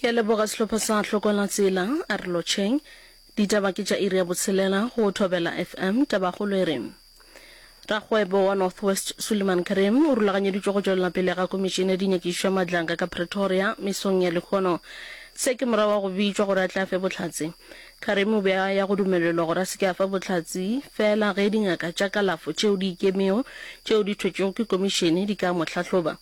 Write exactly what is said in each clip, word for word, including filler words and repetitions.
Ke a leboga sehlopha sa Hlokola Tsela, a re lotšheng. Ditaba ke tša iri ya botshelela go Thobela F M. Tabakgolo e re, Rakgwebo wa North West Suliman Karim o rulaganyeditšwe go tšwelela pele ga Komišene ya Dinyakišišo ya Madlanga ka Pretoria mesong ya lehono. Se ke morago ga go bitšwa gore a tle a fe bohlatse. Karim o be a ya go dumelelwa gore a se ke a fa bohlatse feela ge dingaka tša kalafo tšeo di ikemego tšeo di thwetšwego ke komišene di ka mo hlahloba.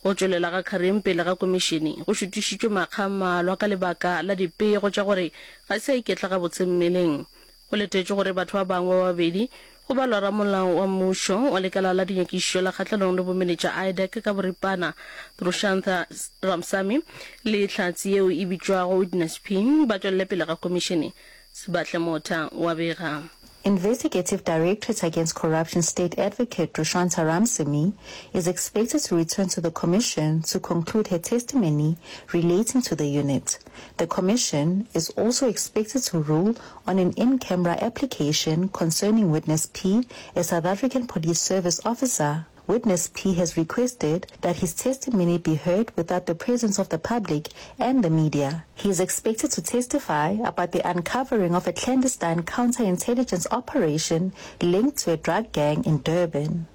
Go tšwelela ga Karim pele ga komišene go šutišitšwe makga a mmalwa ka lebaka la dipego tša gore ga se a iketla gabotse mmeleng. Go letetšwe gore batho ba bangwe ba babedi, go balwa ramolao wa mmušo wa lekala la dinyakišišo la kgahlanong le bomenetša IDAC ka boripana, Drushantha Ramsamy, le hlatse yeo e bitšwago Witness P, ba tšwelele pele ga komišene. Sebahle Motha o a bega. Investigative Directorate Against Corruption State Advocate Drushantha Ramsamy is expected to return to the commission to conclude her testimony relating to the unit. The commission is also expected to rule on an in-camera application concerning Witness P, a South African Police Service officer. Witness P has requested that his testimony be heard without the presence of the public and the media. He is expected to testify about the uncovering of a clandestine counterintelligence operation linked to a drug gang in Durban.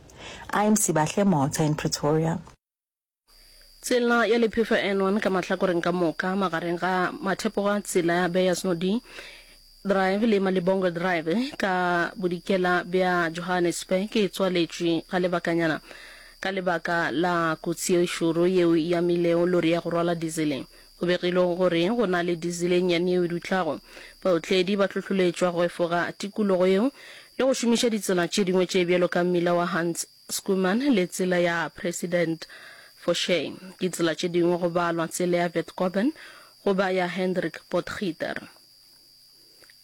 I'm Sibahle Motha in Pretoria. Tsela ya lephefo N one ka mahlakoreng ka moka magareng ga mathepogo a tsela ya Beyers Naudé Drive le Malibongwe Drive ka bodikela bja Johannesburg e tswaletšwe ga lebakanyana ka lebaka la kotsi e šoro yeo e amilego lori ya go rwala dizele. Go begilwe gore go na le dizele e nnyane yeo e dutlago. Baotledi ba hlohloletšwa go efoga tikologo yeo le go šomiša ditsela tše dingwe tše bjalo ka mmila wa Hans Schoeman le tsela ya President Foshay. Ditsela tše dingwe go balwa tsela ya Vetkoben goba ya Hendrik Potgieter.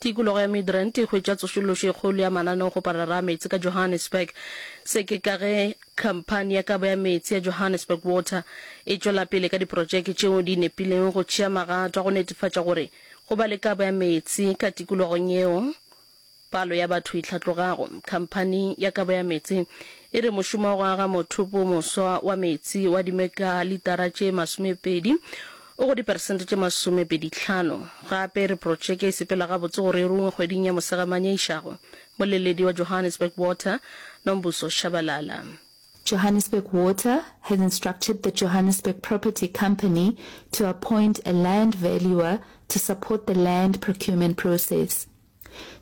Tikologo ya Midrand e hwetša tsošološo e kgolo ya mananeokgoparara a meetse ka Johannesburg. Se ke ka ge khamphani ya kabo ya meetse ya Johannesburg Water e tšwela pele ka diprotšeke tšeo di nepilego go tšea magato a go netefatša gore go ba le kabo ya meetse ka tikologong yeo palo ya batho e hlatlogago. Khamphani ya kabo ya meetse e re mošomo wa go aga mothopo o moswa wa meetse wa dimekalitara tše masomepedi o go diperesente tše masomepedihlano. Gape e re protšeke e sepela gabotse gore e rungwe kgweding ya Mosegamanye e išago. Moleledi wa Johannesburg Water, Nombuso Shabalala. Johannesburg Water has instructed the Johannesburg Property Company to appoint a land valuer to support the land procurement process.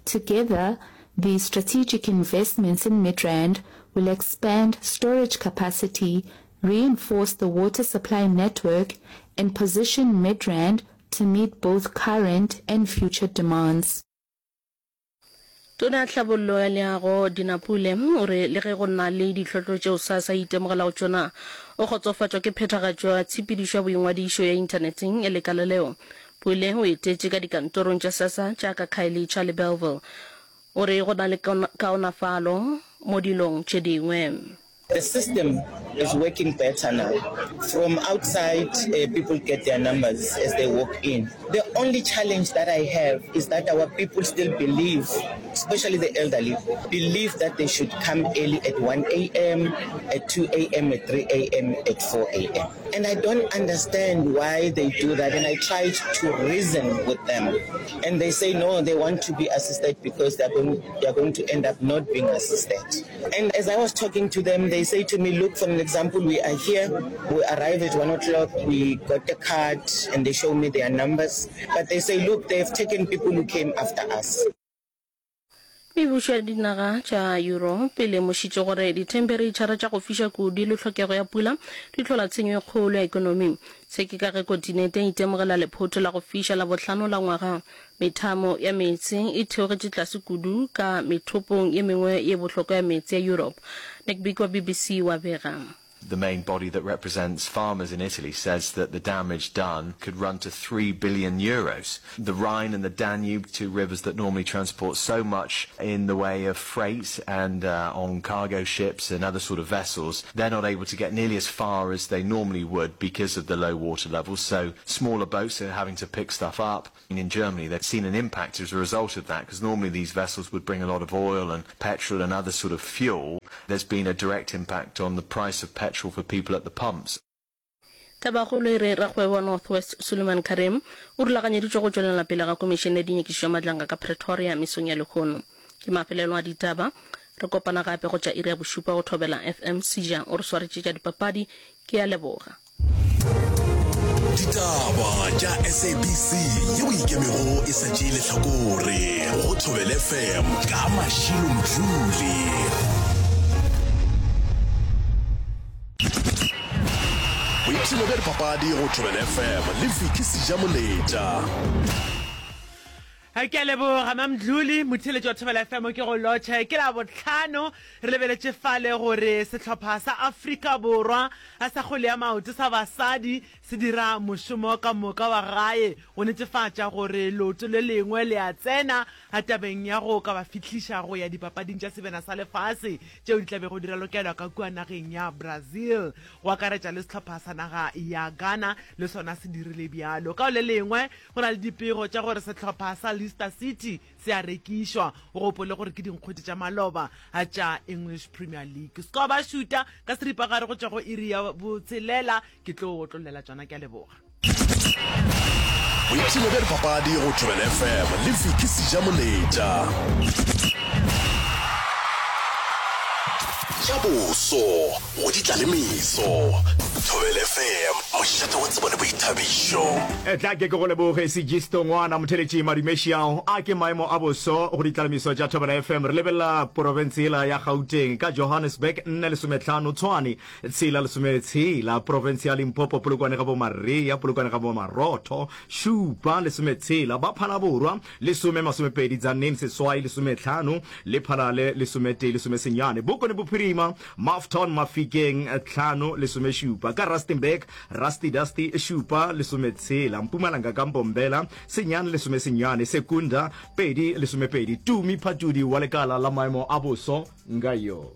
Together, these strategic investments in Midrand will expand storage capacity, reinforce the water supply network, and position Midrand to meet both current and future demands. Tona ya Tlhabollo ya Leago, Dina Pule, o re le ge go na le ditlhotlo tšeo SASSA e itemogelago tšona, o kgotsofatšwa ke phethagatšo ya tshepedišo ya boingwadišo ya inthaneteng ya lekala leo. Pule o etetše ka dikantorong tša SASSA tša ka Khayelitsha le Bellville. O re go na le kaonafalo mo dilong tše dingwe. The system is working better now. From outside, uh, people get their numbers as they walk in. The only challenge that I have is that our people still believe, especially the elderly, believe that they should come early at one A M, at two A M, at three A M, at four A M. And I don't understand why they do that. And I tried to reason with them. And they say, no, they want to be assisted because they're going, they're going to end up not being assisted. And as I was talking to them, they say to me, look, for an example, we are here, we arrive at one o'clock, we got the card, and they show me their numbers. But they say, look, they've taken people who came after us. Mebušo ya dinaga tša Yurope e lemošitše gore dithempereitšhara tša go fiša kudu le tlhokego ya pula di hlola tshenyo e kgolo ya ekonomi. Se ke ka ge kontinente e itemogela lephoto la go fiša la bohlano la ngwaga. Methamo ya meetse e theogetše tlase kudu ka methopong ye mengwe ye bohlokwa ya meetse ya Yurope. Nick Bik wa B B C wa bega. The main body that represents farmers in Italy says that the damage done could run to three billion euros. The Rhine and the Danube, two rivers that normally transport so much in the way of freight and uh, on cargo ships and other sort of vessels, they're not able to get nearly as far as they normally would because of the low water levels. So smaller boats are having to pick stuff up. In Germany, they've seen an impact as a result of that, because normally these vessels would bring a lot of oil and petrol and other sort of fuel. There's been a direct impact on the price of petrol for people at the pumps. Tabakgolo e re rakgwebo wa North West Suleiman Carrim o rulaganyeditšwe go tšwelela pele ga Komišene ya Dinyakišišo ya Madlanga ka Pretoria mesong ya lehono. Ke mafelelo a ditaba. Re kopana gape go tša iri ya bošupa go Thobela F M. Seja o re swaretše tša dipapadi. Ke a leboga. Ditaba tša S A B C yeo ikemego e sa tšee lehlakore go Thobela F M ka Mashilo Mdluli. Boipshino bja dipapadi go Thobela F M le Vicky Sejamoletša. Ke a leboga Mamdluli, motheeletši wa Thobela F M ke go lotšhe. Ke Labohlano, re lebeletše fale gore sehlopha sa Afrika Borwa sa kgwele ya maoto sa basadi se dira mošomo ka moka wa gae go netefatša gore leoto le lengwe le a tsena tabeng ya go ka ba fihliša go ya dipapading tša Sebjana sa Lefase tšeo di tla bego di ralokelwa ka kua nageng ya Brazil. Go akaretša le sehlopha sa naga ya Ghana le sona se dirile bjalo. Ka go le lengwe, go na le dipego tša gore sehlopha sa Leicester City se a rekišwa. O gopole gore ke dinkgwete tša maloba tša English Premier League. Score ba šuta ka seripagare go tšwa go iri ya botshelela. Ke tlo otlollela tšona. Ke a leboga. Boipshino bja dipapadi go Thobela F M le Vicky Sejamoletša. Tša boso go di tla le meso. Thobela F M, mošate wa tsebo le boithabišo. Tla ke ke go leboge Segisto ngwana motheletši Madumešiao. A ke maemo a boso go ditlalemiso tša Thobela F M. Re lebelela porofense yela ya Gauteng ka Johannesburg nne lesometlhano, Tshwane tshela lesometshela, porofense ya Limpopo Polokwane ga bo Maria, Polokwane ga bo Marotho šupa lesometshela, ba Phalaborwa lesome masomepedi, Tzaneen seswai lesometlhano, Lephalale lesometee lesomesenyane, Bokone Bophirima Mafton Mafikeng tlhano lesomešupa, ka Rustenburg Rusty Dusty šupa lesometshela, Mpumalanga ka Mbombela senyane lesomesenyane, Secunda pedi lesomepedi. Tumi Phatudi wa lekala la maemo a boso nga yo.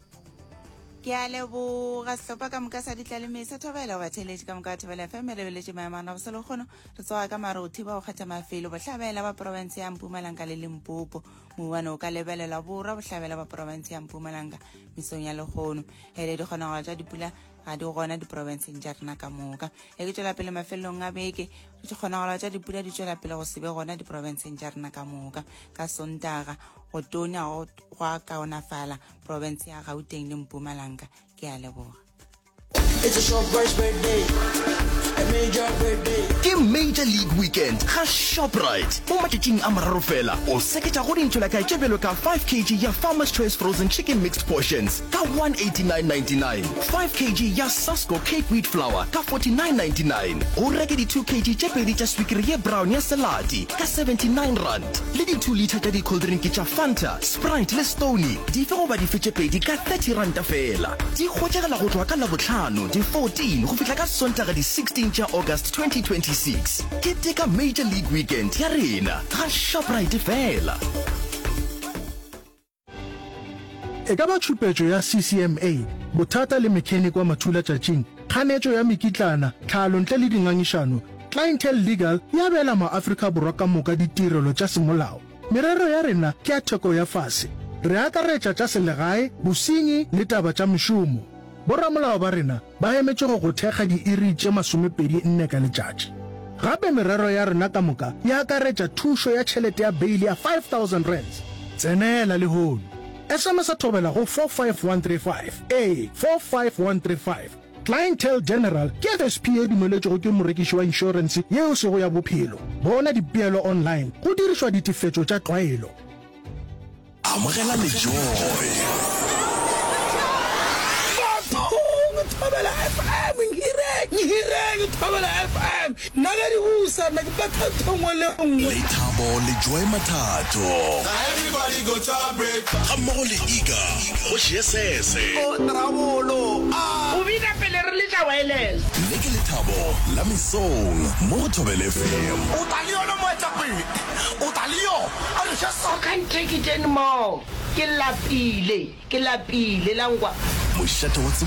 Ke a leboga sehlopha ka moka sa ditlaleme sa Thobela. Batheeletši ka moka ba Thobela F M, re lebeletše maemo a rena boso lekgono. Re tsoga ka mare go thiba go kgetha mafelo bohlabela ba profense ya Mpumalanga le Limpopo. Mouwane o ka lebelelwa borwa bohlabela ba profense ya Mpumalanga mesong ya lekgono. Hele dikgonagalo tša dipula ga di gona diprofenseng tša rena ka moka. E ke tšwela pele mafelelong a beke, dikgonagalo tša dipula di tšwela pele go se be gona diprofenseng tša rena ka moka. Ka Sontaga go tonya go a kaonafala profense ya Gauteng le Mpumalanga. Ke a leboga. It's a Shoprite's birthday, a major birthday. Ke Major League Weekend ga Shoprite. Mo matšatšing a mararo fela, o seketša go dintšolakae tše bjalo ka five kilograms ya Farmer's Choice Frozen Chicken Mixed Portions ka one eighty-nine ninety-nine, five kilograms ya Sasko Cake Wheat Flour ka forty-nine ninety-nine, o reke di two kilograms tše pedi tša swikiri ye brown ya Selati ka seventy-nine rand, le di two litre tša di-cold drink tša Fanta, Sprite le Stoney dife goba dife tše pedi ka thirty rand fela. Di hwetšagala go tloga ka Labohlano di fourteen go fihla ka Sontaga di sixteen tša August twenty twenty-six. Keteka Major League Weekend ya rena ga Shoprite fela. E ka ba tšhupetšo ya C C M A, bothata le mechanic wa mathulatšatšing, kganetšo ya mekitlana, tlhalo ntle le dingangišano, Clientele Legal e abela maAfrika Borwa ka moka ditirelo tša semolao. Merero ya rena ke ya theko ya fase. Re akaretša tša selegae, bosenyi le taba tša mešomo. Boramolao ba rena ba emetše go go thekga diiri tše masomepedi nne ka letšatši. Gape merero ya rena ka moka e akaretša thušo ya tšhelete ya beile ya five thousand rands. Tsenela lehono. S M S Thobela go four five one three five. Ee, four five one three five. Clientele General ke F S P e dumeletšwego ke morekiši wa inšorense yeo sego ya bophelo. Bona dipeelo online go dirišwa ditefetšo tša tlwaelo. Amogela lejoy. Bathong, Thobela F M, nhireng nhireng Thobela F M, nna ge di busa nna ke betha ntho nngwe le nngwe. Lethabo le Joy Mathato Everybody go to break. Ga mmogo le Iga kgoši ye sese. O bina pele re letša wireless. Le ke lethabo la mesong mo go Thobela F M. O tla le yona moetapele, o tla le yona a re I can't take it anymore. Ke lapile, ke lapile la nkwa. Mošate wa